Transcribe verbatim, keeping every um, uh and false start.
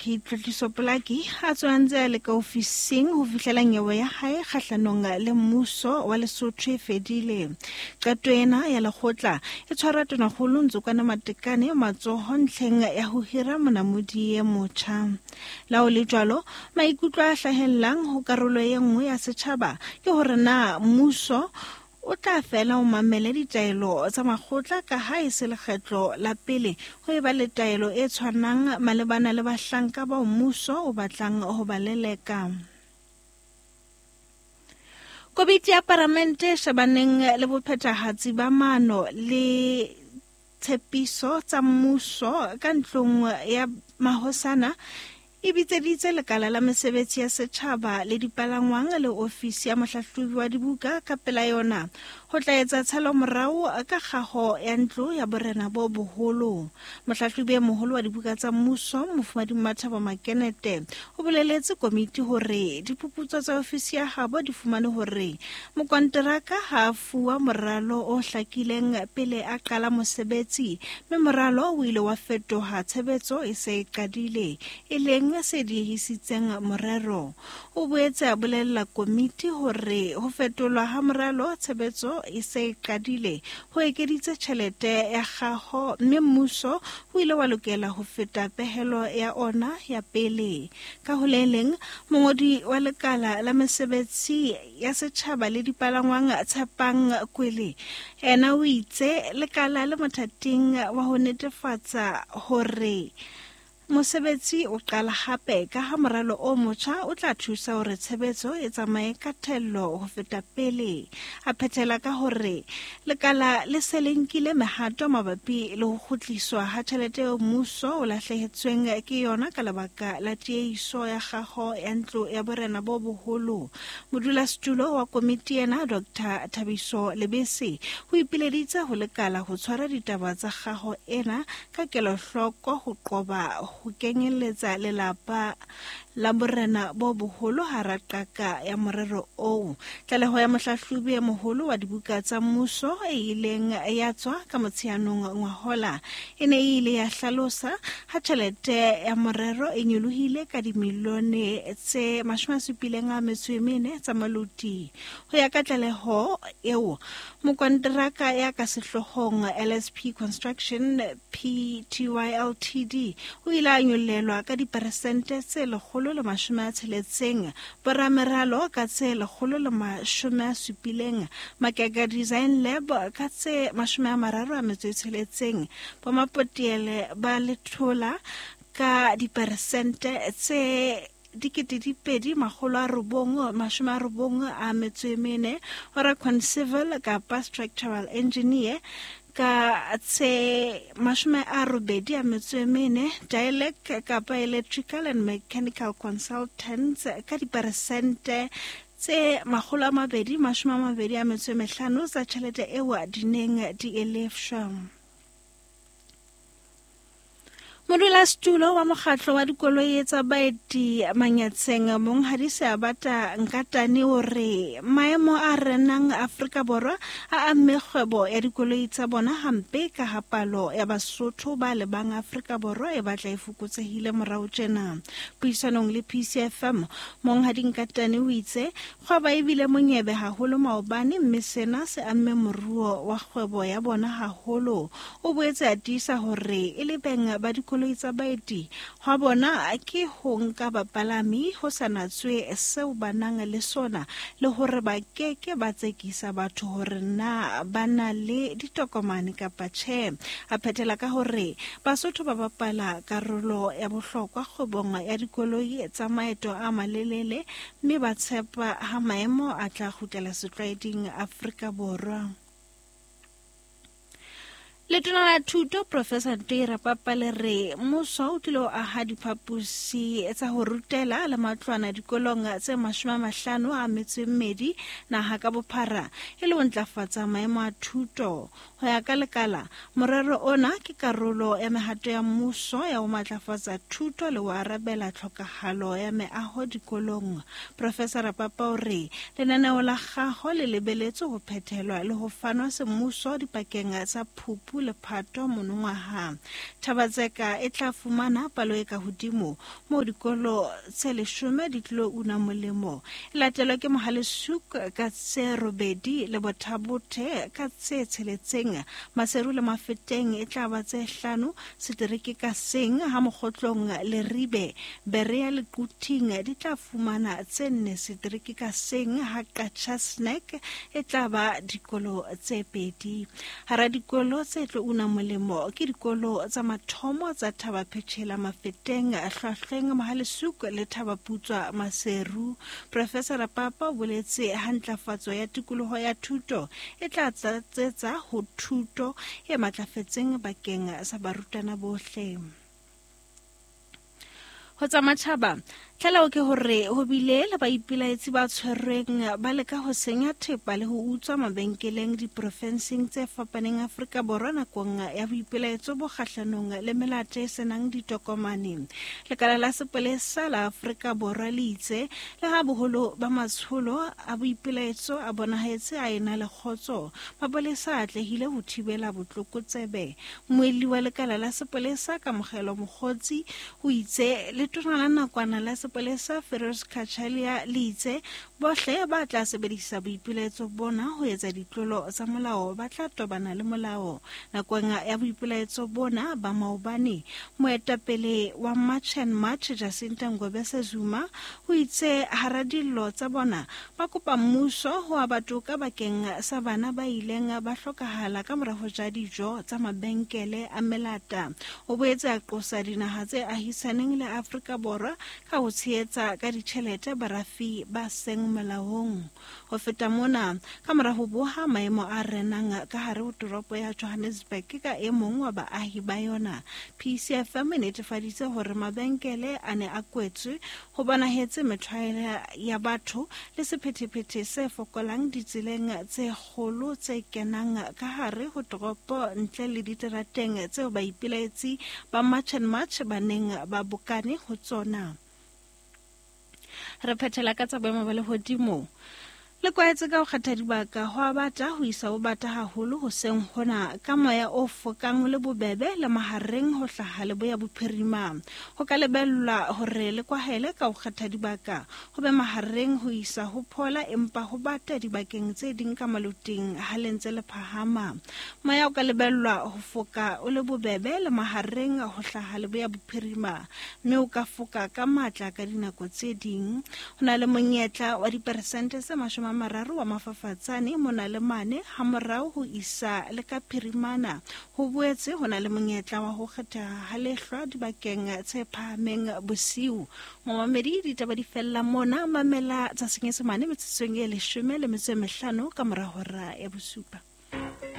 Tlotliso Polaki a tswa ntse a le ka ofising ho fihlela nyewe ya hae kgahlanong le mmuso wa Lesotho e fedile. Qeto ena ya lekgotla e tshwara Tonakgolo Ntsokwana Matekane matsoho ntlheng ya ho hira monamodi e motjha. Le ha ho le jwalo, maikutlo a hlahellang ho karolo e nngwe ya setjhaba ke hore na mmuso o tla fela o mamele ditaelo tsa makgotla ka ha e se lekgetlo la pele ho eba le taelo e tshwanang malebana le bahlanka bao mmuso o batlang ho ba leleka. Komiti ya Palamente e shebaneng le bophethahatsi ba maano le tshepiso tsa mmuso ka ntlong ya mahosana e bitseditse lekala la mesebetsi ya setjhaba le dipalangwang le ofisi ya mohlahlobi wa dibuka ka pela yona ho tla etsa tshalomorao ka kgaho ya ntlo ya borena bo boholo. Mohlahlobi e moholo wa dibuka tsa mmuso Mofumahadi Mmathabo Makenete o boleletse komiti hore diphuputso tsa ofisi ya habo di fumane hore mokonteraka ha a fuwa moralo o hlakileng pele a qala mosebetsi, mme moralo o ile wa fetoha tshebetso e se e qadile, e leng se diehisitseng morero. O boetse a bolella komiti hore ho fetolwa ha moralo tshebetso e se e qadile ho ekeditse tjhelete ya kgaho, mme mmuso o ile wa lokela ho feta pehelo ya ona ya pele. Ka ho le leng, mongodi wa lekala la mesebetsi ya setjhaba le dipalangwang Tshepang Kwele yena o itse lekala le mothating wa ho netefatsa hore mosebetsi o qala hape ka ha moralo o motjha o tla thusa hore tshebetso e tsamaye ka thello ho feta pele. A phethela ka hore lekala le se le nkile mehato mabapi le ho kgutliswa ha tjhelete eo mmuso o lahlehetsweng ke yona ka lebaka la tiehiso ya kgaho ya ntlo ya borena bo boholo. Modulasetulo wa komiti ena Doctor Thabiso Lebese o ipileditse ho lekala ho tshwara ditaba tsa kgaho ena ka kelohloko ho qoba ho kenyelletsa lelapa la borena bo boholo hara qaka ya morero oo. Tlaleho ya mohlahlobi e moholo wa dibuka tsa mmuso e ileng ya tswa ka Motsheanong ngwahola e ne e ile ya hlalosa ha tjhelete ya morero e nyolohile ka dimilione tse mashome a supileng a metso e mene tsa maluti. Ho ya ka tlaleho eo, mokonteraka ya ka sehloohong L S P Construction P T Y L T D o ile a nyollelwa ka diperesente tse lekgolo le mashome a tsheletseng, borameralo ka tse lekgolo le mashome a supileng, Makeka Design Lab ka tse mashome a mararo a metso e tsheletseng, bomapotiele ba lethola ka diperesente tse dikete di pedi makgolo a robong mashome a robong a metso e mene, Oracon Civil kapa Structural Engineer ka tse mashome a robedi a metso e mene, Dialect kapa Electrical and Mechanical Consultants ka diperesente tse makgolo a mabedi mashome a mabedi a metso e mehlano tsa tjhelete eo di neng di e lefshwa. Modulasetulo wa mokgatlo wa dikoloi tsa baeti Manyatseng Monghadi Seabata Nkatane o re maemo a renang Afrika Borwa a amme kgwebo ya dikoloi tsa bona hampe ka ha palo ya Basotho ba lebang Afrika Borwa e batla e fokotsehile morao tjena. Puisanong le P C F M, Monghadi Nkatane o itse kgwebo e bile monyebe haholo maobane, mme sena se amme moruo wa kgwebo ya bona haholo. O boetse a tiisa hore e le beng ba dikoloi tsa baeti hwa bona ke ho nka bapalami ho sa natswe seo ba nang le sona, le hore ba keke ba tsekisa batho hore na ba na le ditokomane kapa tjhe. A phethela ka hore Basotho ba bapala karolo ya bohlokwa kgwebong ya dikoloi tsa maeto a malelele, mme ba tshepa ha maemo a tla kgutlela setlwaeding Afrika Borwa. Letona la Thuto Professor Ntoi Rapapa le re mmuso o tlilo aha diphaposi tsa ho rutela le matlwana dikolong tse mashome a mahlano a metso e mmedi naha ka bophara e le ho ntlafatsa maemo a thuto. Ho ya ka lekala, morero ona ke karolo ya mehato ya mmuso ya ho matlafatsa thuto le ho arabela tlhokahalo ya meaho dikolong. Professor Rapapa o re lenaneo la kgaho le lebeletswe ho phethelwa le ho fanwa semmuso dipakeng tsa Phupu Phupu le Phato monongwaha. Thaba-Tseka e tla fumana palo e ka hodimo moo dikolo tse leshome di tlo una molemo. E latelwa ke Mohale's Hoek ka tse robedi le Botha-Bothe ka tse tsheletseng. Maseru le Mafeteng e tla ba tse hlano setereke ka seng, ha Mokgotlong, Leribe, Berea le Quthing di tla fumana tse nne setereke ka seng, ha Qacha's Nek e tla ba dikolo tse pedi. Hara dikolo tse tlo una molemo ke dikolo tsa mathomo tsa Thaba-Phechela Mafeteng, Hlwahlweng, Mohale's Hoek le Thaba-Putswa Maseru. Professor Rapapa o boletse ha ntlafatso ya tikoloho ya thuto e tla tlatsetsa ho thuto e matlafetseng bakeng sa barutwana bohle. Ho tsa matjhaba, tlaleho ke hore ho bile le baipelaetsi ba tshwerweng ba leka ho senya thepa le ho utswa mabenkeleng diprofenseng tse fapaneng Afrika Borwa nakong ya boipelaetso bo kgahlanong le melata e senang ditokomane. Lekala la sepolesa la Afrika Borwa le itse le ha boholo ba matsholo a boipelaetso a bonahetse a ena le kgotso, mapolesa a atlehile ho thibela botlokotsebe. Mmuelli wa lekala la sepolesa Kamogelo Mokgotsi o itse letona la nakwana la sepolesa Firoz Cachalia le itse bohle ba tla sebedisa boipelaetso bona ho etsa ditlolo tsa molao ba tla tobana le molao. Nakong ya boipelaetso bona ba maobane, moetapele wa March and March Jacinta Ngobese Zuma o itse hara dillo tsa bona ba kopa mmuso ho aba toka bakeng sa bana ba ileng ba hlokahala ka mora ho ja dijo tsa mabenkele a melata. O boetse a qosa dinaha tse ahisaneng le Afrika Borwa ka ho tshehetsa ka ditjhelete barafi ba seng molaong. Ho feta mona, ka mora ho boha maemo a renang ka hare ho toropo ya Johannesburg ka e mong wa baahi ba yona, P C F M e netefaditse hore mabenkele a ne a kwetswe ho bonahetse methwaela ya batho le sephethephethe se fokolang ditseleng tse kgolo tse kenang ka hare ho toropo ntle le diterateng tseo baipelaetsi ba March and March ba neng ba bokane ho tsona. Re phethela ka tsa boemo ba lehodimo. Le kwaetse ka ho kgetha dibaka ho a bata ho isa ho bata haholo hoseng hona ka moya o fokang le bobebe le mahareng ho hlaha leboya bophirima. Ho ka lebellwa hore le kwahele ka ho kgetha dibaka ho be mahareng ho isa ho phola, empa ho bata dibakeng tse ding ka maloting ha le ntse le phahama. Moya o ka lebellwa ho foka o le bobebe le mahareng ho hlaha leboya bophirima, mme o ka foka ka matla ka dinako tse ding. Ho na le monyetla wa diperesente tse mashome a mararo wa mafafatsane mona le mane ha morao ho isa le ka phirimana. Ho boetse ho na le monyetla wa ho kgetheha ha lehlwa dibakeng tse phahameng bosiu. Momamedi, ditaba di fella mona. Mamela tsa Senyesemane metsotsong e leshome le metso e mehlano ka mora hora ya bosupa.